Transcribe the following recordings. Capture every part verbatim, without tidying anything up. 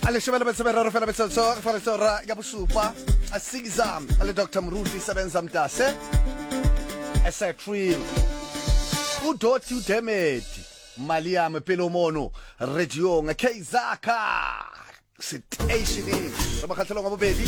A leshome le metso e meraro fela metsotso re tshwanetse hora ya bosupa. A Caesar le Doctor Moruti Sebenza Mtase. S A Trill. Udoti Udemedi. Maliame pele mono radiong Kzaka station re mokgatlhelong wa bobedi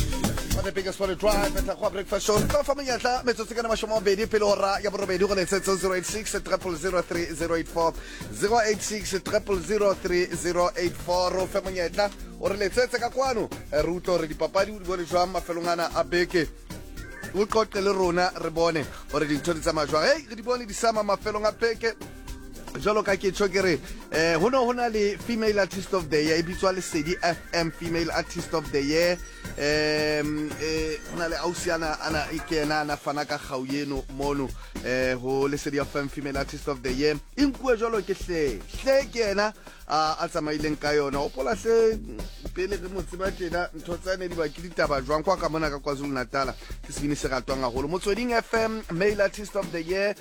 wa The Biggest Morning Drive etla go breakfast show. Re tla fa monyetla metsotso ka mashome a mabedi pele hora ya borobedi go letsetso zero eight six triple zero three zero eight four, zero eight six triple zero three zero eight four. Ro fe monyetla o re letsetse ka kwano, re utlwe hore dipapadi o di bone jwang mafelong ana a beke, o qoqe le rona re bone hore dintho di tsamaya jwang. Hey, re di bone di sama mafelong a beke jwalo ka ke tjho ke re eh ho no ho na le female artist of the year e bitswa Lesedi F M female artist of the year. Em eh ho na le ausi ana ana e ke ena ana fana ka kgau eno mono eh ho Lesedi F M female artist of the year e nkuwe jwalo ke hle hle ke ena a tsamaileng ka yona. O pola hle pele re mo tseba tjena ntho tsa ne di ba ke ditaba jwang kwa ka mona ka KwaZulu Natal ke sebini se ratwang haholo. Motsweding F M male artist of the year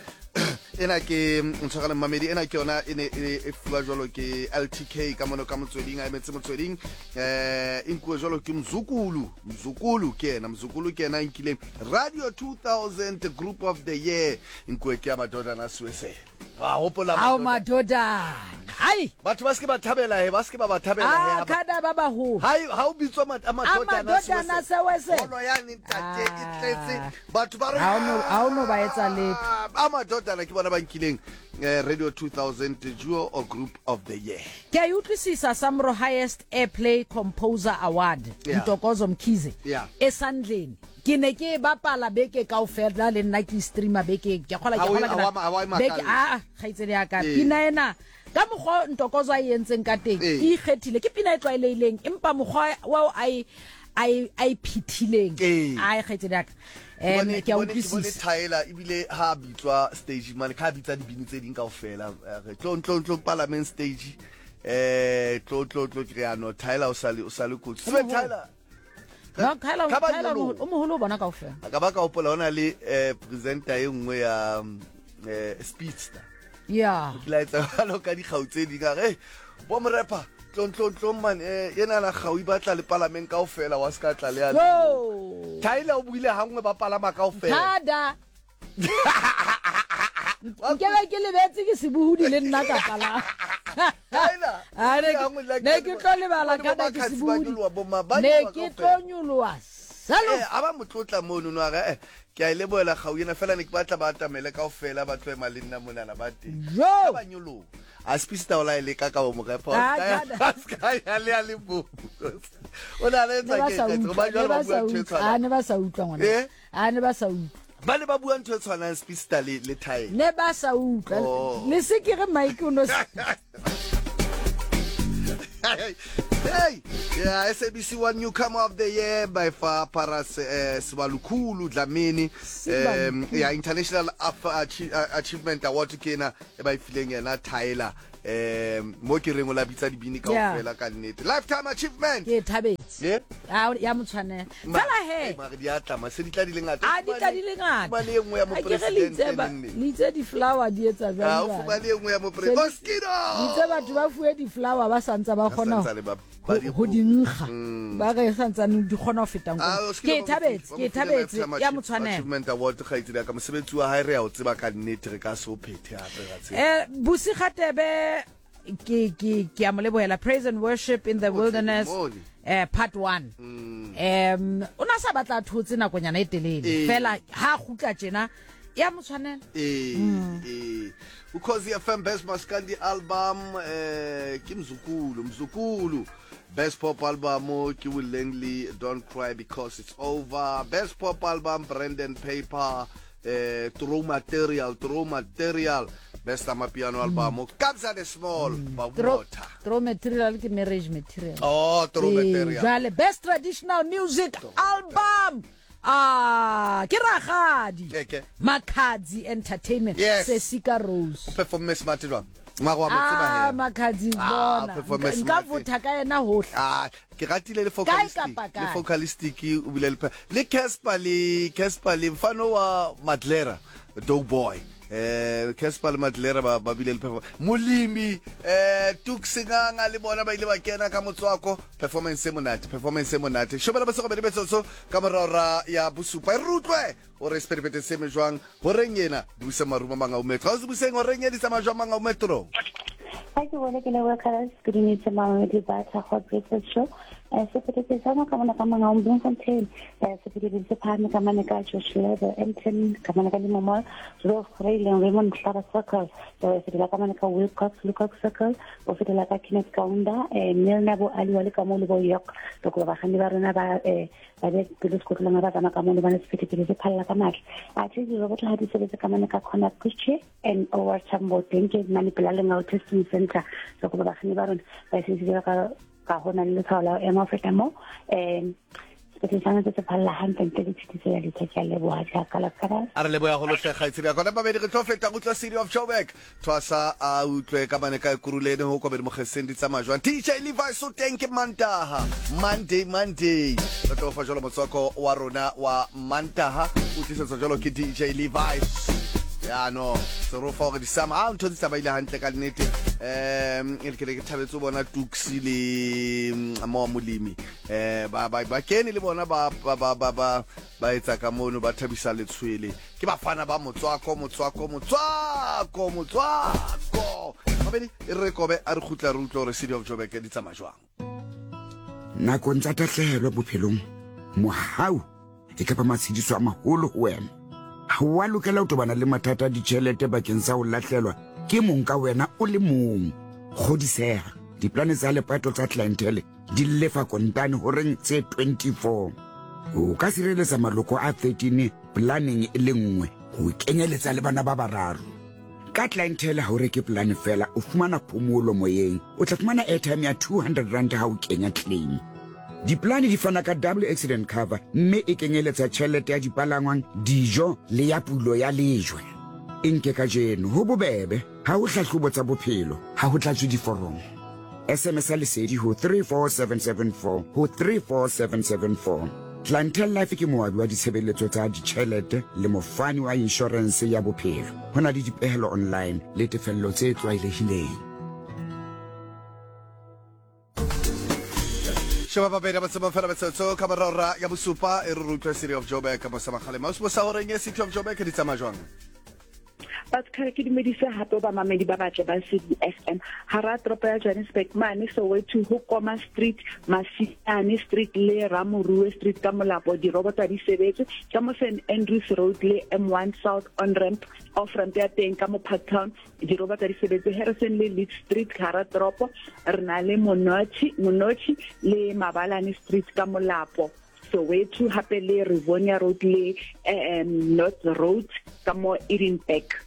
ena ke ntshwarele mmamedi ena ke yona e ne e fuwa jwalo ke L T K ka mono ka Motsweding a emetse Motsweding eh e nkuwe jwalo ke Mzukulu Mzukulu ke ena Mzukulu ke ena nkileng Radio two thousand group of the year nkuwe ke ya madodana Suese. Ba hopola ao madodana ai batho ba se ba thabela he ba se ba ba thabela he a kada ba baholo hai ha o bitswa madodana Suese holo ya ntate e tletse batho ba re ha ono ha ono ba etsa letho a madodana ke bona ba nkileng Radio two thousand duo or group of the year. Ke a utlwisisa Samro highest airplay composer award Ntokozo Mkhize e sandleni ke ne ke bapala beke kaofela le nna ke streamer beke ke kgola ke kgola beke a kgaitsedi ya ka pina ena ka mokgwa Ntokozo a entseng ka teng e ikgethile ke pina e tlwaelehileng empa mokgwa wa a a a phithileng a kgaitsedi ya ka em ke a utlwisisa Tyler ebile ha bitswa stage man ka bitsa dibini tse ding kaofela re tlo tlo tlo parliament stage eh tlo tlo tlo ke ya no Tyler o sale o sale kotsi sebe Tyler no Tyler Tyler o moholo bona kaofela ka ba ka hopola ona le presenter e nngwe ya speedster yeah ke la etsa jwalo ka dikgau tse ding a re bo morepa tlon tlon tlon man eh yena la kgau e batla le parliament kaofela wa ska tla le ya Tyler o buile hangwe ba palama kaofela thada nke ba ke lebetse ke sebuhudi le nna ka palama Tyler a ne ke tlo lebala ka ke sebuhudi ne ke tlo nyoloha salo eh aba motlotla mono no a re ke a leboela kgau ena fela ne ke batla ba atamele kaofela ba tlo ema le nna monana ba teng ba nyoloha a spista ola ile ka ka bo morepa a ska ya le a le bo o na le tsa ke ke ba jwalo ba bua ntho e tshwanang a ne ba sa utlwa ngwana a ne ba sa utlwa ba ne ba bua ntho e tshwanang spista le le Tyler ne ba sa utlwa le se ke re Mike o no Hey, yeah, S A B C One newcomer of the year by far Paras uh, Sibalukhulu Dlamini um yeah international achievement award ke ena e ba ifileng yena Tyler um mo ke reng o la bitsa dibini kaofela ka nnete lifetime achievement ke thabetse yeah ya motshwanela fela he mare di atla ma se di tla di le ngata a di tla di le ngata ba le nngwe ya mo president le itse di flower di etsa jwang a o fumane nngwe ya mo president Oskido itse batho ba fuwe di flower ba santsa ba kgona ho di nkga ba re santsane di kgona ho feta nko ke thabetse ke thabetse ya motshwanela achievement award kgaitsedi ka mosebetsi wa hae re ya o tseba ka nnete re ka se o phethe hape ra tseba eh Busi Khatebe ke ke ke a mo lebohela praise and worship in the wilderness eh part one um o na sa batla thotse nakonyana e telele fela ha kgutla tjena ya motshwanela eh eh Ukhozi F M best maskandi album eh ke Mzukulu Mzukulu best pop album ke Will Langley Don't Cry Because It's Over best pop album Brandon Paper eh True Material True Material best amapiano album Kabza the Small Babota True Material ke marriage material oh True Material jale best traditional music album ah ke ragadi Makhadzi Entertainment yes. Sesika Rose performance smart jwang mara wa mo tseba he ah Makhadzi bona nka votha ka yena hohle ah ke ratile le vocalistic le vocalistic o bile le le Casper le Casper le mfano wa Madlera Dope Boy Eh Casper le Matlera ba ba bile le performance. Molemi eh Tuksinganga le bona ba ile ba kena ka motswako, performance e monate, performance e monate. Shobela ba se go betsotso ka morora ya bosupa. E rutlwe hore sephethephethe se me jwang horeng ena busa maruma manga o metro. Ha o buseng horeng e di tsamaya jwang manga o metro. Hi, ke bone ke leboha Carlos. Good evening to Mamedi Batha Hot Breakfast Show. Eh sephethephethe sa ka mona ka manga o Bloemfontein. Eh sephethephethe se phahame ka mane ka Josh Level, M ten ka mane ka Limo Mall, Roof Rail Raymond Mhlaba Circle. Eh fetela ka mane ka Wilcox Lucock Circle, o fetela ka Kenneth Kaunda, eh Milner bo Aliwa le ka mo le bo York. Re kopa bakganni ba rona ba eh ba be pelo sekotlolong ba tsamaya ka mo le bane sephethephethe se phalla ka matla. Athe diroboto ha di sebetse ka mane ka Corner Kuche and O R Tambo teng ke mane pela Lengau Testing Center. Re kopa bakganni ba rona ba sebedise ka ka hona le letshwao la ho ema ho feta moo. Um sepetlele sa ntse se phalla hantle ntle le tshitiso ya letho. Ke a leboha jaaka la Carlos. A re leboha go lohle kgaitsedi ya kona babedi re tlo feta go utlwa City of Joburg. Thwasa a utlwe ka mane ka Ekurhuleni ho kobedi mogeseng di tsamaya jwang. D J Levi so teng ke Mantaha. Monday Monday. Re tlo fa jalo motswako wa rona wa Mantaha o tlisetswa jalo ke D J Levi. Ya no, se ro fa hore di sama a ntho di tsamaile hantle ka nnete. Um e ke ke thabetse ho bona Tuxi le mo Molemi. Eh ba ba ba kene le bona ba ba ba ba ba ba etsa ka mono ba thabisa letshwele. Ke bafana ba motswako motswako motswako motswako. Mabedi e re kobe a re khutla re utlwe hore City of Joburg di tsamaya jwang. Nakong tsa tahlehelo bophelong, mohau e kapa matshediso a maholo ho wena. Ha wa lokela ho tobana le mathata a ditjhelete bakeng sa ho lahlelwa ke mong ka wena o le mong. Kgodiseha, diplane tsa lepato tsa clientele di lefa kontane horeng tse twenty-four. O ka sireletsa maloko a thirteen planeng e le nngwe ho kenyeletsa le bana ba bararo. Ka clientele ha o reke plan fela, o fumana phomolo moyeng. O tla fumana airtime ya two hundred rand ha o kenya claim. Diplane di fana ka double accident cover mme e kenyeletsa tjhelete ya dipalangwang, dijo le ya pulo ya lejwe. E nke kajeno ho bobebe, ha ho hlahlobo tsa bophelo, ha ho tlatswe diforomo. S M S a lesedi ho three four seven seven four ho three four seven seven four. Clientele Life ke moabi wa ditshebeletso tsa ditjhelete le mofani wa insurance ya bophelo. Ho na le dipehelo online le tefello tse tlwaelehileng. Sheba babedi ba tseba fela betsotso ka morora ya bosupa e re utlwe City of Joburg ka mosa magale. Mausi sa horeng e City of Joburg di tsamaya jwang? Batho ke dumedise hape ba mamedi ba batle ba C D F M hara toropo ya Johannesburg mane Soweto ho Koma Street, Masiane Street le Ramorue Street ka molapo dirobota di sebetse ka mo Saint Andrews Road le M one South on ramp off ramp ya teng ka mo Parktown dirobota di sebetse Harrison le Leeds Street hara toropo re na le Monochi Monochi le Mabalane Street ka molapo Soweto hape le Rivonia Road le um, North Road ka mo Edinburgh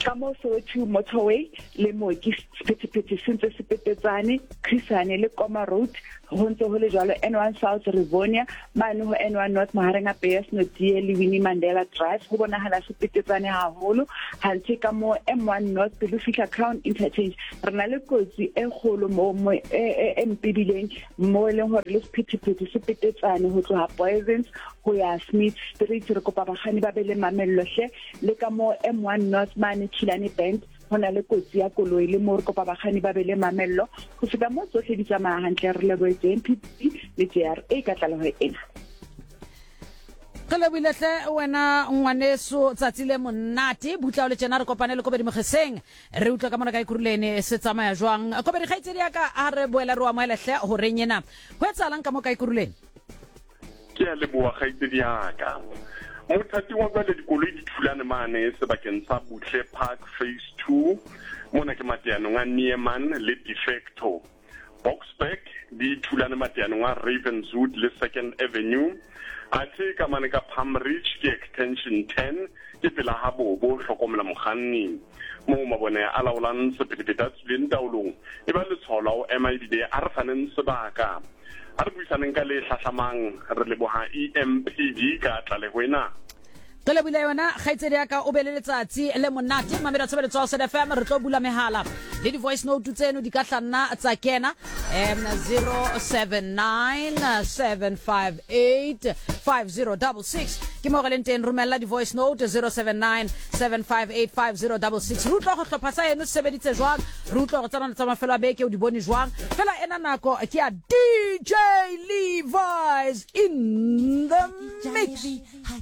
ka mo Soweto Motorway le mo ke sephethephethe se ntse se petetsane Chrisane le Koma Road ho ntse ho le jwalo N one South Rivonia mane ho N one North mahareng a P S Notie le Winnie Mandela Drive ho bonahala se petetsane haholo hantse ka mo M one North pele fihla Crown Interchange re na le kotsi e kgolo mo mo e mpebileng mo e leng hore le sephethephethe se petetsane ho tloha Poisons ho ya Smith Street re kopa bakganni ba be le mamello hle le ka mo M one North mane Kilani Bend ho na le kotsi ya koloi le mo re kopa bakganni ba be le mamello ho feta mo tsohle di tsamaya hantle re lebohetse M P P le J R A ka tlaleho ena. Re lebohile hle wena ngwaneso tsatsi le monate butla o le tjena re kopane le Kobedi Mogeseng re utlwa ka mona ka Ekurhuleni se tsamaya jwang. Kobedi kgaitsedi ya ka a re boela re o amohele hle horeng ena ho etsahalang ka mo ka Ekurhuleni? Ke a leboha kgaitsedi ya ka. Mothating wa jwale dikoloi di thulane mane sebakeng sa Buhle Park Phase two mona ke mateanong a Nieman le Defecto. Boksburg di thulane mateanong a Ravenswood le Second Avenue. Athe ka mane ka Palm Ridge ke Extension ten ke pela ha bobo hlokomela mokganni moo mabone a laolang sephethephethe a tswileng taolong e ba letshwao la ho ema ebile a re faneng sebaka. A re buisaneng ka le hlahlamang re leboha E M P D ka tlaleho ena. Re lebohile yona kgaitsedi ya ka o be le letsatsi le monate mamela tshebeletso ya S D F M re tlo bula mehala le di voice note tseno di ka hlanna tsa kena um zero seven nine seven five eight five zero six six. Ke mo re leng teng, romella di-voice note zero seven nine seven five eight five zero double six. Re utlwa go hlopha sa eno se sebeditse jwang, re utlwa gore tsena tsa mafelo a beke o di bone jwang. Fela ena nako ke ya D J Levi's in the mix.